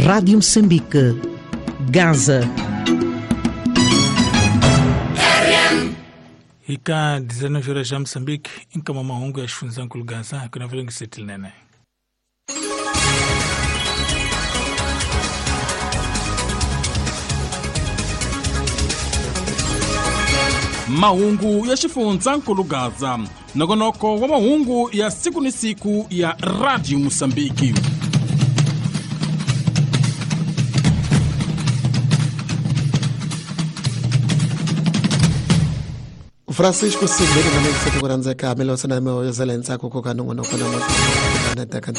Rádio Moçambique, Gaza. Ika 19 horas já Moçambique, em mahungu ya xifundzhankulu Gaza, kuna vile. Mahungu ya xifundzhankulu Gaza, nongonoko wa mahungu ya siku ni siku ya Radio Mosambiki. Francisco Sibeli na mexo ku rhandzeka milosana mi ntsako ku ka nongonoko na teka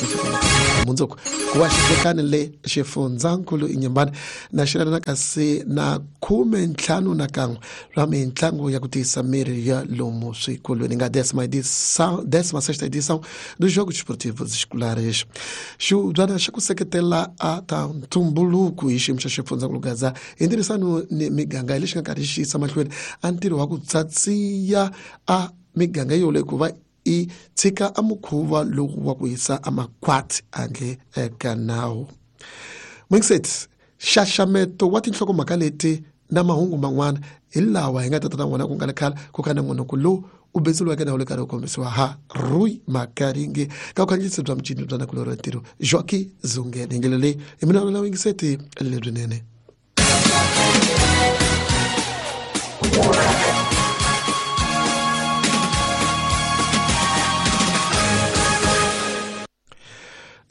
mundzuku ku va xitekani le xifundzankulu Inhambane na xirana kasi na 51 swa mintlangu ya ku tiyisa miri ya lomu swikolweni nga 16ª edição dos Jogos Esportivos Escolares. Xibyana xa ku seketela a ta ntumbuluko hi xiyimo xa xifundzankulu Gaza hi ntirhisano ni miganga hi lexi nga karhi xi yisa mahlweni a ntirho wa ku tsatsiya a miganga yoleyo ku va i tshika a mukhuva lowu wa ku yisa a makhwati handle ka nawu. Mwingiseti, xaxameto wa tinhlokomhaka leti na mahungu man'wana hi lawa hi nga tata na wona ku nga le khale ku ka nongonoko lowu u betseliweke na wu le karhi wu kombisiwa ha Rui Makaringe ka vukhandziyisi bya mucini bya nakulorhi wa ntirho Joaquim Zungene. Hi ndlela leyi hi mina la wingiseti lebyinene.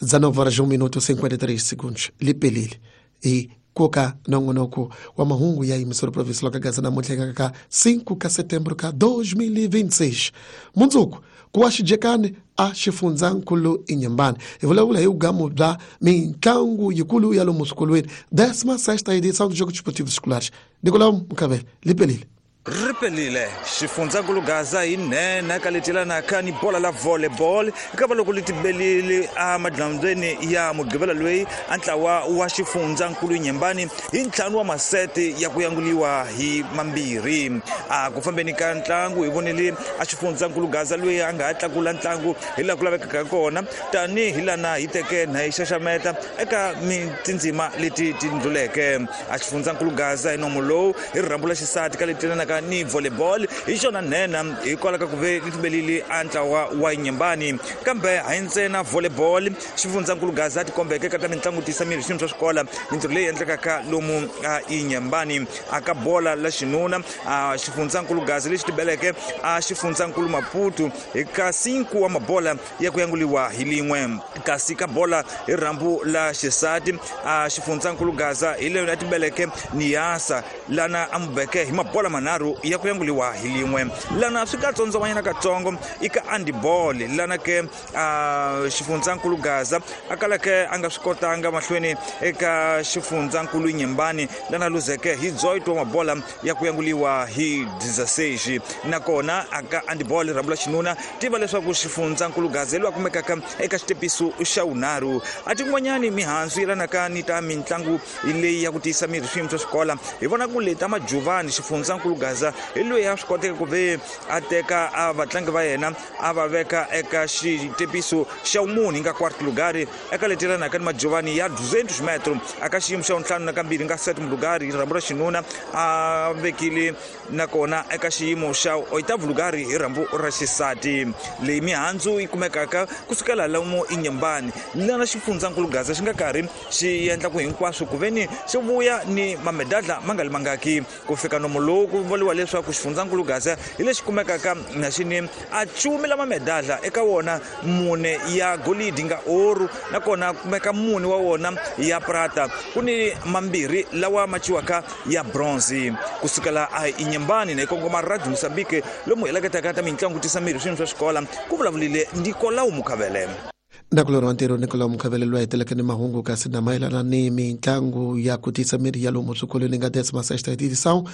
19:53 lipelile hi koka nongonoko wa mahungu ya emissora provincial ka Gaza namuntlha ka 5 ka setembro ka 2026. Mundzuku ku wa xijekani a xifundzankulu Inhambane hi vulavula hi vugamu bya mintlangu yikulu ya lomu swikolweni 16ª edição dos Jogos Esportivos Escolares. Nicolau Mukavele, lipelile. Ripelile xifundzankulu Gaza hi nhenha ka letilanaka ni bola la volleyball eka loko li tibelile a madlambyeni ya mugqivela loyi a ntlawa wa xifundzankulu Inhambane hi ntlhanu wa masete ya ku yanguliwa hi mambirhi. A ku fambeni ka ntlangu hi vonile a xifundzankulu Gaza loyi a nga ha tlakula ntlangu hi laha ku lavekaka kona tanihi lana hi teke na hi xaxameta eka tindzima leti ti ndluleke. A xifundzankulu Gaza hi nomo lowu hi rirhambu la xisati ka letilanaka ni volleyball hi xona nhenha hikwalaho ka ku ve li a ntlawa wa Inhambane. Kambe hayi ntsena volleyball xifundzankulu Gaza a tikombeke ka ta mitlangu tiyisa miri swiyimo swa xikola mintirho leyi endlekaka lomu a Inhambane. A ka bola la xinuna a xifundzankulu Gaza lexi tibeleke a xifundzankulu Maputo hi ka 5 wa mabola ya ku yanguliwa hi lin'we. Kasi ka bola hi rhambu la xisati a xifundzankulu Gaza hi leyo a tibeleke Niasa lana a mubeke hi mabola manharhu ya ku yanguliwa hi lin'we. Lana swi ka tsondzomanyana katsongo i ka handball lana ke a xifundzankulu Gaza a kalake a nga swi kotanga mahlweni eka xifundzankulu Inhambane lana luzeke hi 18 wa mabola ya ku yanguliwa hi 16. Nakona aka handball rhambu la xinuna tiva leswaku xifundzankulu Gaza loyi a kumekaka eka xitepiso xa wunharhu. A tin'wanyani mihandzu yelanaka ni ta mitlangu leyi ya ku tiyisa miri swiyimo swa xikola hi vona ku leta majuvani xifundzankulu Gaza hi loyi a swi koteka ku ve a teka a vatlangi va yena a va veka eka xitepiso xa wumune nga quarto lugar eka letilanaka ni majuvani ya 200 metro aka xiyimo xa wuntlhanu na kambirhi nga sétimo lugar hi rhambu ra xinuna a vekile nakona eka xiyimo xa oitavo lugar hi rhambu ra xisati. Leyi mihandzu yi kumekaka kusukela lomu Inhambane lana xifundzankulu Gaza xi nga karhi xi endla ku hinkwaswo ku veni xi vuya ni mamedadla ma nga li mangaki ku fika nomo lowu ku vuriwa leswaku xifundzankulu Gaza hi lexi kumekaka na xini a cumi la mamedadla eka wona mune ya golidi nga oru nakona kumeka mune wa wona ya prata ku ni mambirhi lawa ma ciwaka ya bronze. Kusukela a Inhambane na hi kongoma Radio Mosambike lomu heleketaka ta mitlangu tisa miri swiyimo swa xikola ku vulavulile Nicolau Mukavele. Nakulorhi wa ntirho Nicolau Mukavele loyi a heteleke ni mahungu kasi na mayelana ni mitlangu ya ku tiyisa miri ya lomu swikolweni nga 16ª edição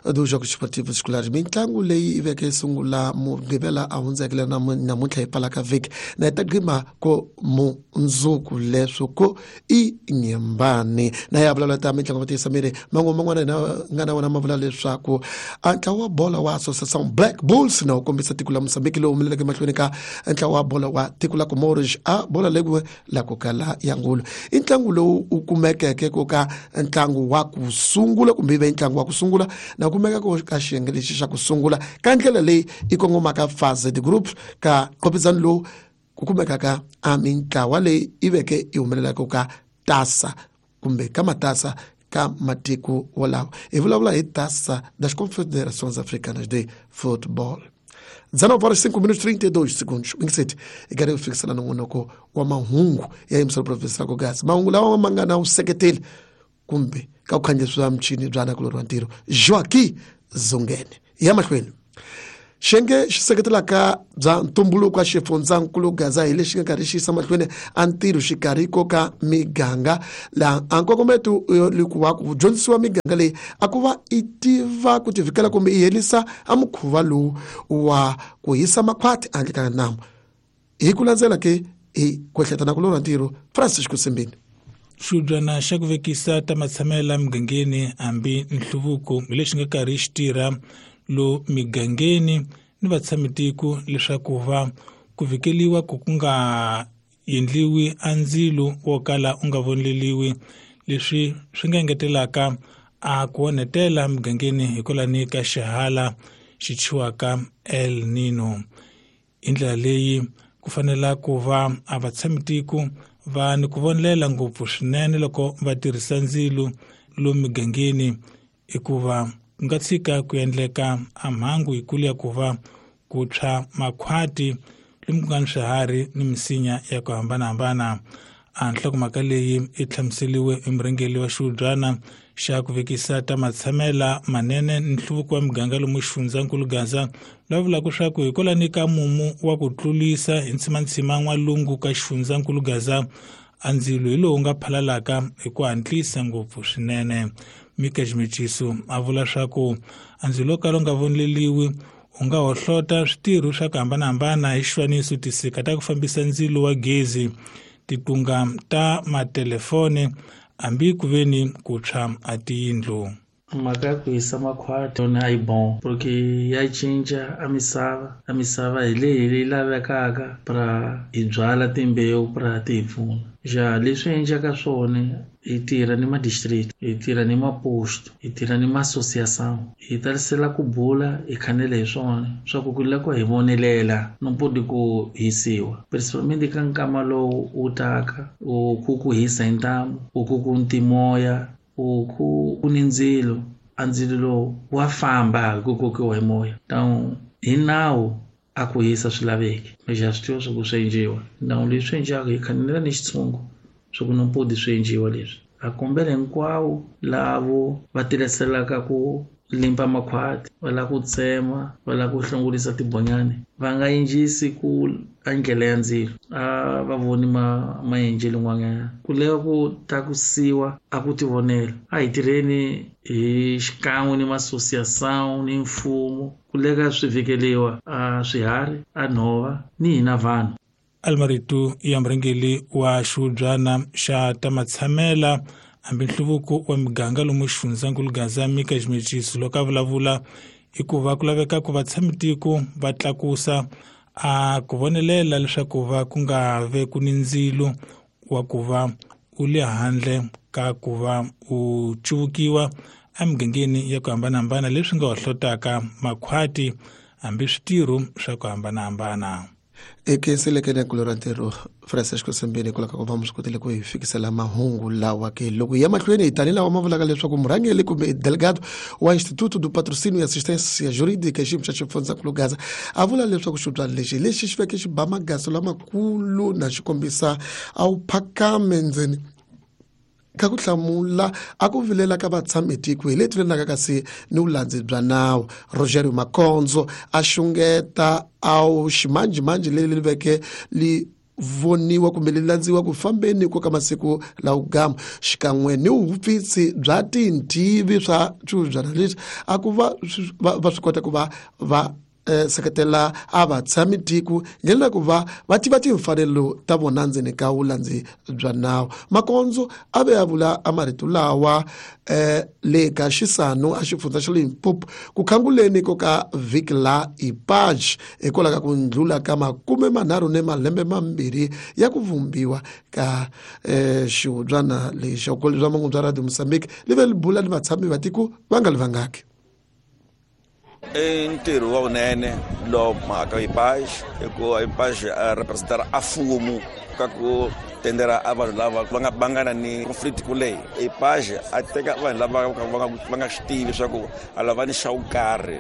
dos Jogos Esportivos Escolares. Mitlangu leyi yi veke sungula mugqivela a hundzekile namuntlha hi pfalaka vhiki na hi ta gqima ko mundzuku leswo ko Inhambane. Na ya vulavula ta mitlangu ya ku tiyisa miri man'we man'wana hina nga na wona ma vula leswaku a ntlawa wa bola wa Associação Black Bulls na wu kombisa tiko la Mozambique lowu humeleleke mahlweni ka ntlawa wa bola wa tiko la Comoros a bola leku la ku kala ya ngulu. I ntlangu lowu u kumekeke ku ka ntlangu wa ku sungula kumbe ve ntlangu wa ku sungula na kumeka ku ka xiyenge lexi xa ku sungula ka ndlela leyi i kongomaka phase de group ka qopizano lowu ku kumekaka a mintlawa leyi i veke i humelelaka ka tasa kumbe ka matasa ka matiko wolawo. Hi vulavula hi Taça das Confederações Africanas de Futebol. 19 horas 5 minutos 32 segundos. Mingiseti i karhi ku fikisana nongonoko wa mahungu ya yimisela provinsi ra Gaza. Mahungu lawa ma nga na vuseketeli kumbe ka ku khandziyisiwa michini bya nakulorhi wa ntirho Joaquim Zungene. Ya mahlweni xiyenge xi seketelaka bya ntumbuluko wa xifundzankulu Gaza hi lexi nga karhi xi yisa mahlweni a ntirho xikarhi ko ka miganga laha a nkongometo wa ku dyondzisiwa miganga leyi a ku va i tiva ku tivikela kumbe i herisa a mukhuva lowu wa ku hisa makhwati handle ka namu. Hi ku landzela ke hi ku ehleketa na ku lorha ntirho Francisco Simbini. Xibyana xa ku vekisa ta matshamelo migangeni hambi nhluvuko hi lexi nga karhi xi tirha lo migangeni ni vatshamitiko leswaku va ku vikeliwa ku ku nga endliwi a ndzilo wo kala u nga voneleliwi, leswi swi nga engetelaka a ku onhetela migangeni hikwalani ka xihala xi thyiwaka El Nino. Hi ndlela leyi ku fanela ku va a vatshamitiko va ni ku vonelela ngopfu swinene loko va tirhisa ndzilo lo migangeni, hikuva ku nga tshika ku endleka a mhangu yikulu ya ku va ku tshwa makhwati lomu ku nga ni swiharhi ni misinya ya ku hambanahambana. A nhlokomhaka leyi i hlamuseriwe hi murhangeri wa xihubyana xa ku vekisa ta matshamela manene ni nhluvuko wa miganga lomu xifundzankulu Gaza, lava vulaka swa ku hikwalani ka mumu wa ku tlulisa hi ntsimantsima n'walungu ka xifundzankulu Gaza, a ndzilo hi lowu nga phalalaka hi ku hatlisa ngopfu swinene. Mika Ximechiso a vula swa ku a ndzilo wo kala u nga voneleliwi u nga hohlota switirho swa ku hambanahambana hi xifaniso tisika ta ku fambisa ndzilo wa gezi, titunga ta matelefoni hambi ku veni ku tshwa a tiyindlu. Mhaka ya ku hisa makhwati yona a yi bon porque ya cinca a misava hi leyi leyi lavekaka pra hi byala timbewu pra ti hi pfuna. Ja leswi endlaka swona hi tirha ni ma-district, hi tirha ni maposto, hi tirha ni ma-association, hi tarisela ku bula hi khanela hi swona swa ku ku lava hi vonelela no podi ku hisiwa, principalmente ka nkama lowu wu taka u ku ku hisa hi ntamu, u ku ku ntimoya, u ku ni ndzilo, a ndzilo lowu wa famba hi ku kokiwa hi moya. Então hi nawu a ku hisa swi laveki, lexi a swi tiva swa ku swi endliwa. Nawu leswi endliwaka hi khanela ni xitshungu swa ku no podi swi endliwa leswi. A kombela hinkwavo lavo va tirhiselaka ku limpa makhwati, va lava ku tsema, va lava ku hlongorisa tibonyani, va nga endlisi ku a ndlela ya ndzilo, a va voni maendlelo n'wanyana. Ku lava ku tlakusiwa a ku tivonela. A hi tirheni hi xikan'we ni ma-association ni mfumo ku leka swi vhikeliwa a swiharhi, a nhova ni hina vanhu. Almarito ya murhangeri wa xihubyana xa ta matshamela hambi nhluvuko wa miganga lomu xifundzankulu Gaza Mika Ximechiso loko a vulavula i ku va ku laveka ku vatshamitiko va tlakusa a ku vonelela leswaku va ku nga ve ku ni ndzilo wa ku va u le handle ka ku va u cuvukiwa emigangeni ya ku hambanahambana leswi nga hohlotaka makhwati hambi switirho swa ku hambanahambana. Ekenselekene ku lora ntirho Francisco Simbini ku lava ku va mi swi kotile ku hi fikisela mahungu lawa ke loko hi ya mahlweni hi tani lawa ma vulaka leswaku murhangeri kumbe delegado wa Instituto do Patrocínio e Assistência Jurídica xiyimo xa xifundzankulu Gaza a vula leswaku xibyana lexi lexi xi veke xi ba magaso lamakulu na xi kombisa a wu phakame ndzeni ka ku hlamula a ku vilela ka vatshamitiko hi leti vilelaka kasi ni vulandzi bya nawu. Rogerio Makonzo a xungeta a wu ximanjhemanjhe leri li veke li voniwa kumbe li landziwa ku fambeni ko ka masiku lawo gama xikan'we ni vupfisi bya tintivi swa swibyana leswi a ku va va swi kota ku va va Seketela a vatshami tiko ndlela ku va va tiva timfanelo ta vona ndzeni ka vulandzi bya nawu. Makondzo a ve a vula a marito lawa le ka Xisano a xifundza xa Limpopo ku khanguleni ko ka vhiki la IPAJ hikwalaho ka ku ndlula ka 32 ya ku vumbiwa ka xihubyana lexi. Vukoli bya mahungu bya Radio Mozambique li ve li bula ni vatshami va tiko va nga li vangaki. I ntirho wa vunene lowu mhaka IPAJ hikuva IPAJ a representara a mfumo ka ku tendera a vanhu lava va nga bangana ni conflict kuleyi. IPAJ a teka vanhu lava va nga swi tivi leswaku a lava ni xa wo karhi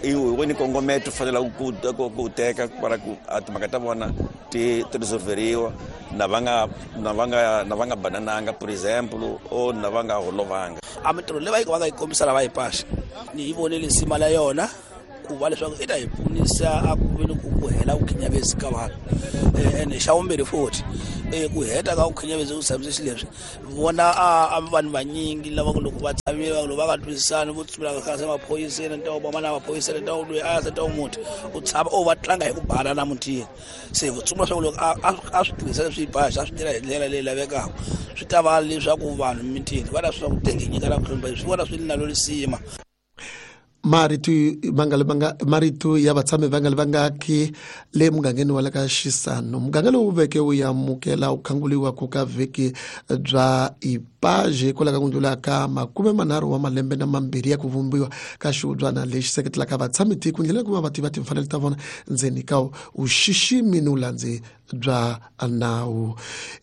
i woni kongometo fanela ku ku teka para ku a timhaka ta vona ti resolveriwa na va nga banananga, por example, o na va nga holovanga. A mintirho leyi va nga yi kombisa lava IPAJ ni yi vonile nsima la yona ku va leswaku i ta hi pfunisa a ku veni ku hela vukhinyavezi ka vanhu. Ene xa vumbirhi futhi ku heta ka vukhinyavezi ku tshamise xileswi vona a vanhu vanyingi lava loko va tshamile loko va nga twisisani vo tsumela ka maphoyiseni ntawo va na maphoyiseni ntawo loyi a se ntawo muti u tshama o va tlanga hi ku bana na mutini. Se vo tsumela swa loko a swi tirhisa leswi IPAJ a swi tirha hi ndlela leyi lavekaka swi ta va leswaku vanhu mitini va ta swi ku tengenyika na ku hlonipha swi vona swi nalo lisima. Marito ya vatshami va nga li vangaki le mugangeni wa le ka Xisano. Muganga lowu veke wu amukela ku khanguliwa ku ka vhiki bya IPAJ hikwalaho ka ku ndlula ka 32 ya ku vumbiwa ka xihubyana lexi seketelaka vatshami tiko ndlela ku va va tiva timfanelo ta vona ndzeni ka vuxiximi ni vulandzi bya nawu.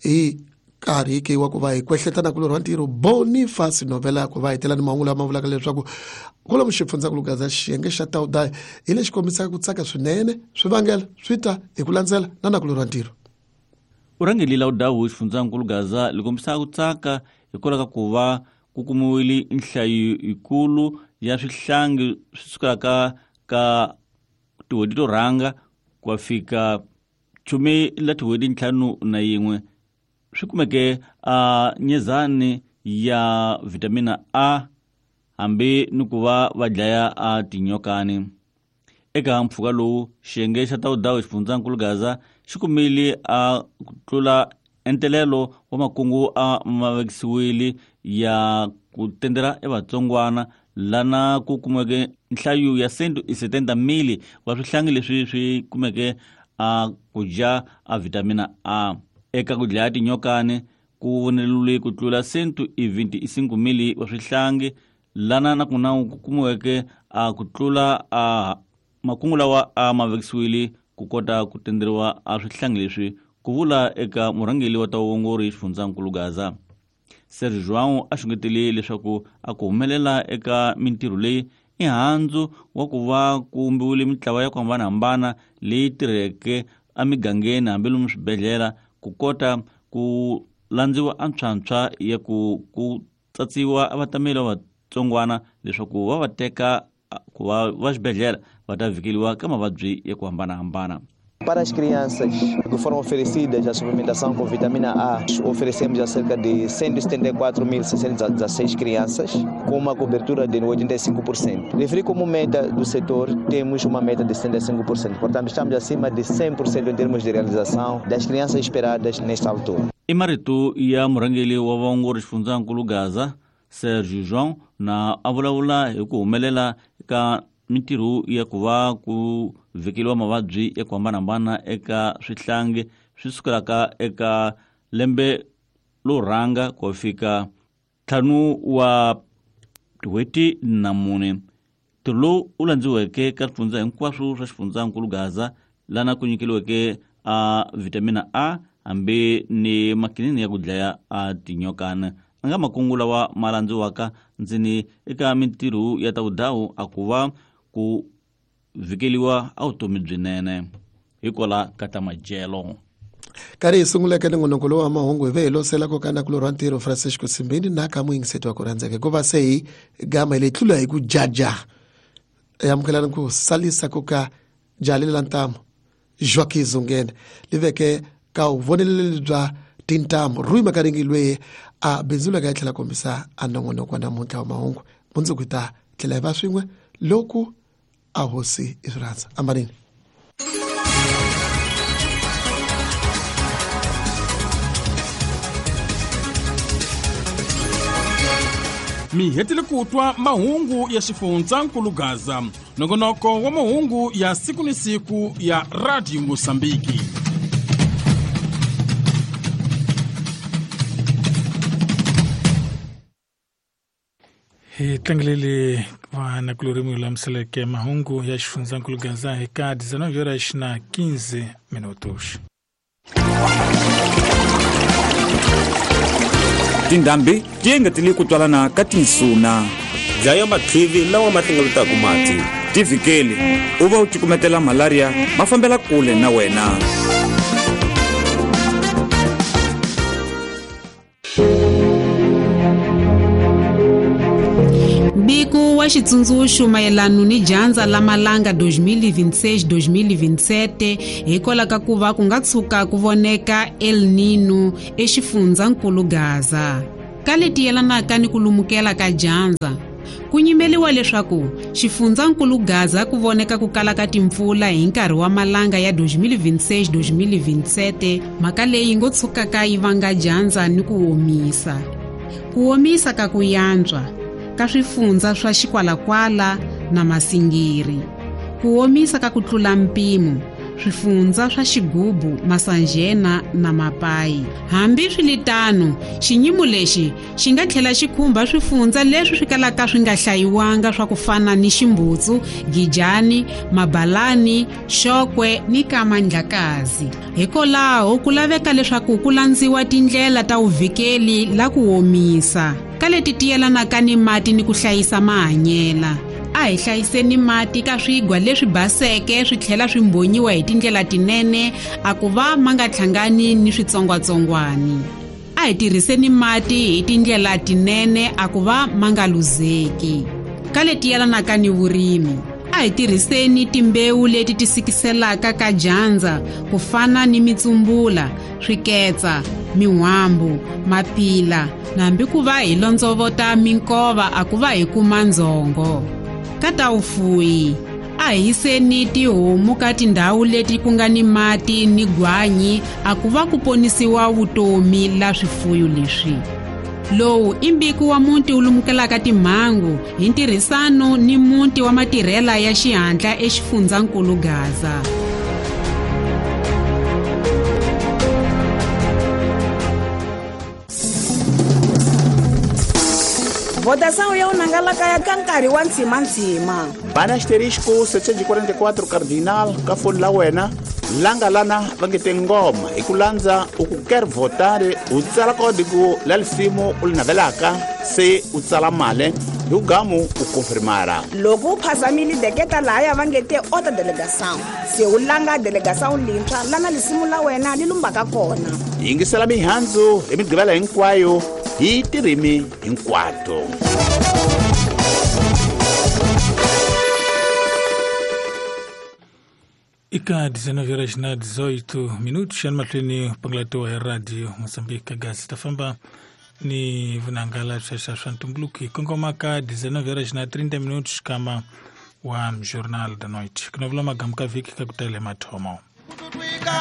Hi nkarhi ke wa ku va hi kwehletana kulorhi wa ntirho Boniface Novela ku va hi tela ni mahungu lama vulaka leswaku kwalomu xifundzankulu Gaza xiyenge xa Taudayi hi lexi kombisaka ku tsaka swinene swivangelo swi ta hi ku landzela na nakulorhi wa ntirho. Vurhangeri la Udawu xifundzankulu Gaza li kombisaka ku tsaka hikwalaho ka ku va ku kumiwile nhlayo yikulu ya swihlangi swi sukelaka ka tin'hweti to rhanga ku ya fika 15 swi kumeke a nyezani ya vitamina A hambi ni ku va va dlaya a tinyokani. Eka mpfhuka lowu xiyenge xa Taudawu xifundzankulu Gaza xi kumile a ku tlula entelelo wa makungu a ma vekisiwile ya ku tendela evatsongwana lana ku kumeke nhlayo ya 170,000 wa swihlangi leswi swi kumeke a ku dya a vitamina A. Eka ku dlaya tinyokani ku voneriwile ku tlula 125,000 wa swihlangi lana na kuna ku kumiweke a ku tlula a makungu lawa a ma vekisiwile ku kota ku tenderiwa a swihlangi leswi, ku vula eka murhangeri wa ta vuongori xifundzankulu Gaza. Sergio João a xungetele leswaku a ku humelela eka mintirho leyi i handzu wa ku va ku vumbiwile mintlawa ya ku hambanahambana leyi tirheke emigangeni hambi lomu swibedhlele ku kota ku landziwa a ntshwantshwa ya ku tsatsiwa vatameli va vatsongwana leswaku va va teka ku va va xibedhlele va ta vhikeliwa ka mavabyi ya ku hambanahambana. Para as crianças que foram oferecidas a suplementação com vitamina A, oferecemos a cerca de 174.616 crianças, com uma cobertura de 85%. Referi como meta do setor, temos uma meta de 75%, portanto estamos acima de 100% em termos de realização das crianças esperadas nesta altura. I marito ya murhangeri wa vaongori xifundzankulu Gaza, Sergio João, na a vulavula hi ku humelela ka mintirho ya ku va ku vhikeliwa mavabyi ya ku hambanahambana eka swihlangi swi sukelaka eka lembe lo rhanga ku fika 5 wa tin'hweti na 4. Ntirho lowu wu landziweke ka swifundza hinkwaswo swa xifundzankulu Gaza lana ku nyikeliweke a vitamina A hambi ni makinini ya ku dlaya a tinyokana. A nga makungu lawa ma landziwaka ndzeni eka mintirho ya ta vudawu a ku va ku vhikeliwa a vutomi byinene hikwala ka ta madyelo. Karhi hi sunguleke nongonoko lowu wa mahungu hi ve hi losela ko ka nakulorhi wa ntirho Francisco Simbini na ka muyingiseti wa ku rhandzeka hikuva se hi gama hi leyi tlula hi ku jaja amukelani ku salisa ku ka jali la ntamu Joaquim Zungene li veke ka vuvoneleli bya tintambu Rui Makaringi loyi a bindzulaka yi tlhela kombisa a nongonoko wa namuntlha wa mahungu. Mundzuku hi ta tlhela hi va swin'we loko A hosi i swi rhandza. Ambanini. Mi hetile ku twa mahungu ya xifundzankulu Gaza, nongonoko wa mahungu ya siku ni siku ya Radio Mosambiki. Hi tlangelele vanakulorhi mi lulamiseleke mahungu ya xifundzankulu Gaza hi ka 19h15 minutos. Tindhambi ti engetele ku twalana ka tinsuna. Dlaya matlivi lawa ma hlengeletaka mati. Tivhikeli u va u cukumetela malaria ma fambela kule na wena. Mbiko wa xitsundzuxo mayelana ni dyandza la malanga 2026-2027 hikwalaho ka ku va ku nga tshuka ku voneka El Nino exifundzankulu Gaza. Ka leti yelanaka ni ku lumukela ka dyandza, ku nyimeliwa leswaku xifundzankulu Gaza ku voneka ku kala ka timpfula hi nkarhi wa malanga ya 2026-2027, mhaka leyi ngo tshukaka yi vanga dyandza ni ku omisa. Ku omisa ka ku yantswa ka swifundza swa Xikwalakwala na Masingiri, ku omisa ka ku tlula mpimo swifundza swa Xigubu, Masanjena na Mapayi. Hambi swiritano, xinyimo lexi xi nga tlhela xi khumba swifundza leswi swi kalaka swi nga hlayiwanga swa ku fana ni Ximbutsu, Gijani, Mabalani, Xokwe ni Kamandlakazi. Hikwalaho ku laveka leswaku ku landziwa tindlela ta vuvikeli la ku omisa ka leti ti yelanaka ni mati ni ku hlayisa mahanyela. A hi hlayiseni mati ka swigwa leswi baseke swi tlhela swi mbonyiwa hi tindlela tinene a ku va ma nga hlangani ni switsongwatsongwani. A hi tirhiseni mati hi tindlela tinene a ku va ma nga luzeki. Ka leti yelanaka ni vurimi, a hi tirhiseni timbewu leti ti sikiselaka ka dyandza ku fana ni mitsumbula, swiketsa, min'wambu, mapila, na hambi ku va hi londzovota minkova a ku va hi kuma ndzhongo. Ka ta vufuwi, a hi yiseni tihomu ka tindhawu leti ku nga ni mati ni gwanyi a ku va ku ponisiwa vutomi la swifuyo leswi. Lowu i mbiko wa muti wu lumukelaka timhangu hi ntirhisano ni muti wa matirhela ya xihatla exifundzankulu Gaza. Votação ya unangalaka ya ka nkarhi wa ntshimantsima. Bana asterisco 744 cardinal ka foni la wena langa lana va nge te ngoma hi ku landza u ku quer votar u tsala kodigo la lisimu u li navelaka se u tsala mali hi ku gamu u konfirmara. Loko u phazamile deketa lahaya va nge te ota delegação se u langa delegação lintshwa lana lisimu la wena li lumbaka kona. Yingisela mihandzu hi migqivela hinkwayo hi tirimi hinkwato. Ika 19h18 minutos xana mahlweni pangalatiwa hi Radio Mozambique Gaza ta famba ni vunangala swa swa ntumbuluko hi kongoma ka 19h30 minutos kama wa Jornal da Noite. Ku na vula magamu ka vhiki ka ku tele mathomo.